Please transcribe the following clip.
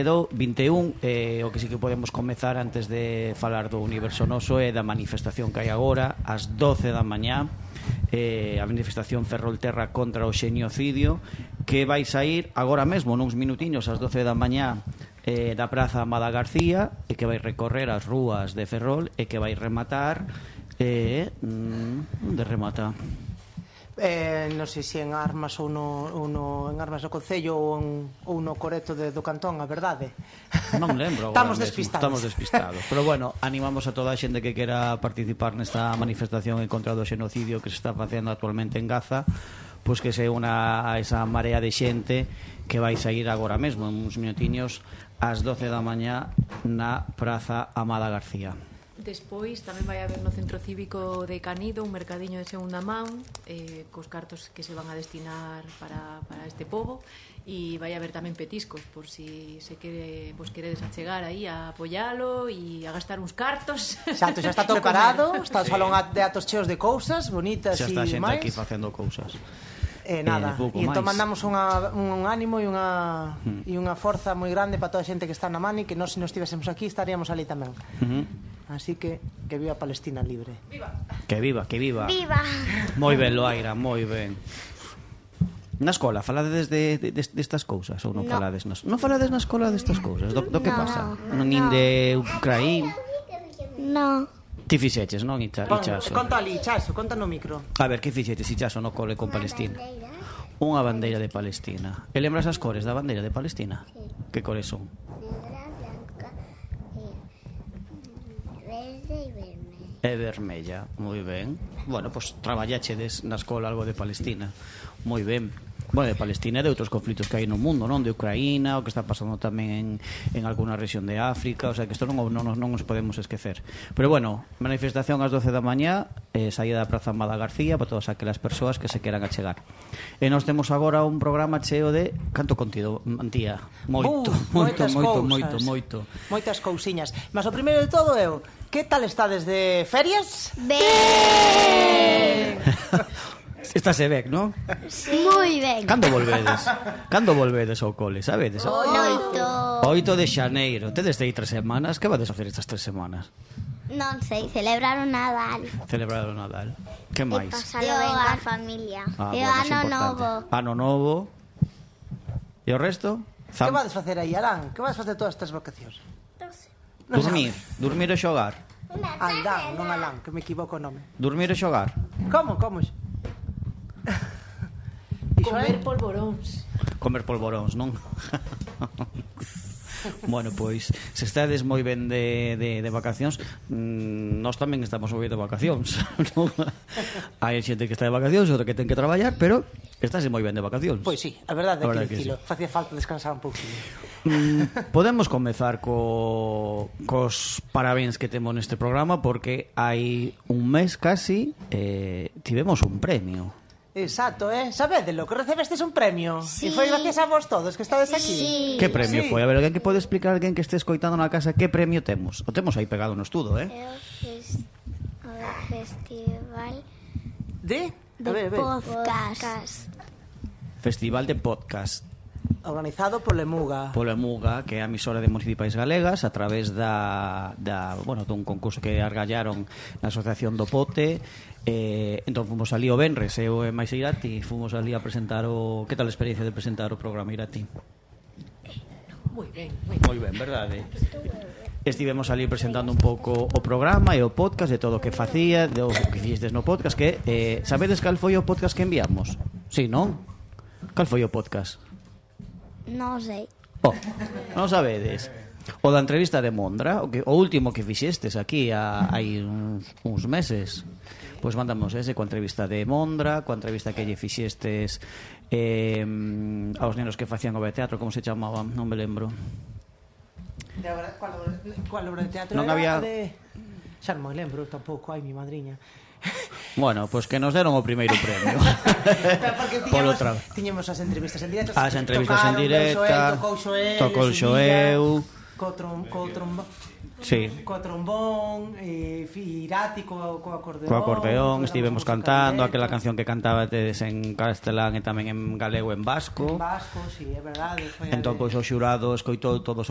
do 21, o que sí que podemos comezar antes de falar do Universo Noso é da manifestación que hai agora ás 12 da mañá, a manifestación Ferrolterra contra o xenocidio, que vai sair agora mesmo nuns minutiños ás 12 da mañá da Praza Amada García, e que vai recorrer as rúas de Ferrol e que vai rematar onde remata? Non sei se en Armas ou en Armas do Concello ou no Coreto do Cantón, a verdade. Non lembro agora. Estamos despistados. Pero bueno, animamos a toda a xente que quera participar nesta manifestación en contra do xenocidio que se está facendo actualmente en Gaza, pois que se una a esa marea de xente que vai sair agora mesmo en uns minutiños ás 12 da mañá na Praza Amada García. Despois tamén vai haber no Centro Cívico de Canido un mercadiño de segunda man cos cartos que se van a destinar para este pobo, e vai haber tamén petiscos por si vos queredes achegar aí a apoialo e a gastar uns cartos. Xa está todo preparado, está o salón de atos cheos de cousas bonitas e xa está a xente máis aquí facendo cousas. Nada, e entón mandamos un ánimo e unha forza moi grande para toda a xente que está na Mani, que nós se non estivésemos aquí estaríamos ali tamén. Así que viva Palestina libre. Viva. Que viva. Viva. Moi ben, Loaira, moi ben. Na escola falades destas cousas ou non falades? Non falades na escola destas cousas? Do que pasa? Nin de Ucraína? No. Ti fixeches, non, Ichaso? Conta ali, Ichaso, conta no micro. A ver, que fixeches, Ichaso, no cole con Palestina? Unha bandeira de Palestina. E lembras as cores da bandeira de Palestina? Sí. Que cores son? Negra, blanca, verde e vermella. E vermella, moi ben. Bueno, pois traballachedes na escola algo de Palestina. Moi ben. Bueno, de Palestina e de outros conflitos que hai no mundo, non? De Ucraína, o que está pasando tamén en alguna rexión de África, o sea que isto non nos podemos esquecer. Pero bueno, manifestación ás 12 da mañá, saída da Praza Amada García para todas aquelas persoas que se queran achegar. E nós temos agora un programa cheo de canto contido, Antía. Moito. Moitas cousiñas. Mas o primeiro de todo é que tal estades de ferias? Ben. Estáse ben, non? Sí. Moi ben. Cando volvedes ao cole, sabedes? 8 de xaneiro. Tedes de ir 3 semanas. Que vades a facer estas 3 semanas? Non sei, celebrar o Nadal. Celebrar o Nadal. Que máis? E pasalo ben coa familia. E o bueno, ano novo. Ano novo. E o resto? Que vades facer aí, Arán? Que vades facer todas estas vacacións? Dormir e xogar. Aldán, non Alán, que me equivoco o nome. Dormir e xogar. Como? Comer polvoróns. Comer polvoróns, non? Bueno, pois, se estades moi ben de vacacións, nós tamén estamos moi ben de vacacións, non? Hai xente que está de vacacións, outra que ten que traballar, pero estáse moi ben de vacacións. Pois sí, a verdade é que dicilo. Facía falta descansar un pouquinho. Podemos comezar cos parabéns que temos neste programa, porque hai un mes casi tivemos un premio. Exacto, sabedelo, que recebestes un premio. Sí. E foi gracias a vos todos que estades aquí. Sí. Que premio foi? A ver, alguén que pode explicar, alguén que este escoitando na casa, que premio temos? O temos aí pegado no estudo, É o festival de podcast. Festival de podcast. Organizado por Lemuga. Polo Emuga, que é a emisora de municipais galegas, a través dun concurso que argallaron na Asociación do Pote. Entón fomos ali o Benres, eu e máis Irati, fomos ali a presentar que tal a experiencia de presentar o programa, Irati? Moi ben, verdade? Estivemos ali presentando un pouco o programa e o podcast de todo o que facía, do que fixestes no podcast, que sabedes cal foi o podcast que enviamos? Sí, non? Cal foi o podcast? Non sei. Non sabedes? O da entrevista de Mondra, o último que fixestes aquí hai uns meses. Pois mandamos ese coa entrevista de Mondra, coa entrevista que lle fixestes aos nenos que facían obra de teatro, como se chamaban, non me lembro. Cual obra de teatro? Non había... Xa non me lembro tampouco, ai mi madriña. Bueno, pois que nos deron o primeiro premio. Tiñemos as entrevistas en directo. As entrevistas en directo. Tocou Xoeu. co trombón, Irati co acordeón. Co acordeón, estivemos cantando aquela canción que cantabates en castelán e tamén en galego e en vasco. En vasco, sí, é verdade. Entón, pois, o xurado escoitou todos os